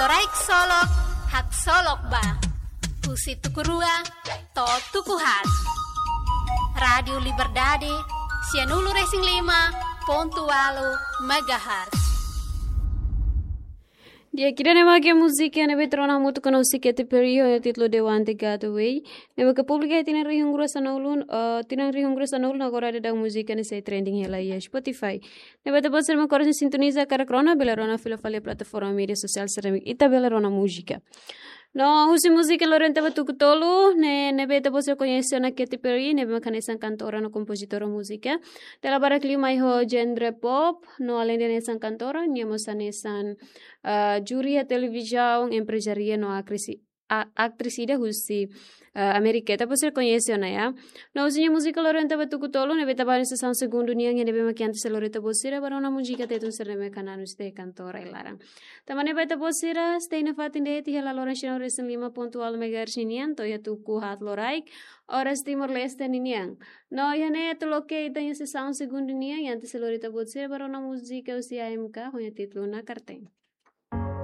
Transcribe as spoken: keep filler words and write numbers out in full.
Loraik Solok, haksolok ba. Husi tuku rua to'o tuku haat. Rádiu Liberdade, sianulu-resin-lima pontu ualu megahertz. Di'ak, ida-ne'e mak múzika ne'ebé ita rona hamutuk ho Katy Perry ho títulu The One That Got Away. Ne'ebé ita publika iha tinan rihun rua sanulu, eh, tinan rihun rua sanulu, no agora daudaun múzika ne'e sei trending hela iha Spotify. Ne'ebé ita-boot sira mak oras ne'e sintoniza karik rona, bele rona fila fali iha plataforma média sosiál sira ne'ebé ita bele rona múzika. No husi múzika loron ida ba tuku tolu, ne'e, ne'ebé ita-boot sira koñese ona Katy Perry, ne'ebé mak hanesan kantora no kompozitora múzika. Dala barak liu mai ho genre pop, no aleinde hanesan kantora, nia mós hanesan, ah, júri iha televizaun, emprezária no akrisi-, a-, aktris ida husi, ah, Amérika. Ita-boot sira koñese ona, ya. No husi nia múzika loron ida ba tuku tolu, ne'ebé ita ba iha sesaun segundu nian, ne'ebé mak antes sei lori ita-boot sira ba rona múzika Tetun sira ne'ebé kananu site kantora iha laran. Tanba ne'e ba ita-boot sira, stay iha fatin de'it iha laloran sianulu-resin-lima pontu ualu megahertz ninian, to'o iha tuku haat loraik, oras Timor-Leste ninian. No iha ne'e atu loke ita-nia sesaun segundu nian, antes sei lori ita-boot sira ba rona múzika husi A M K, ho nia títulu Nakar Ten.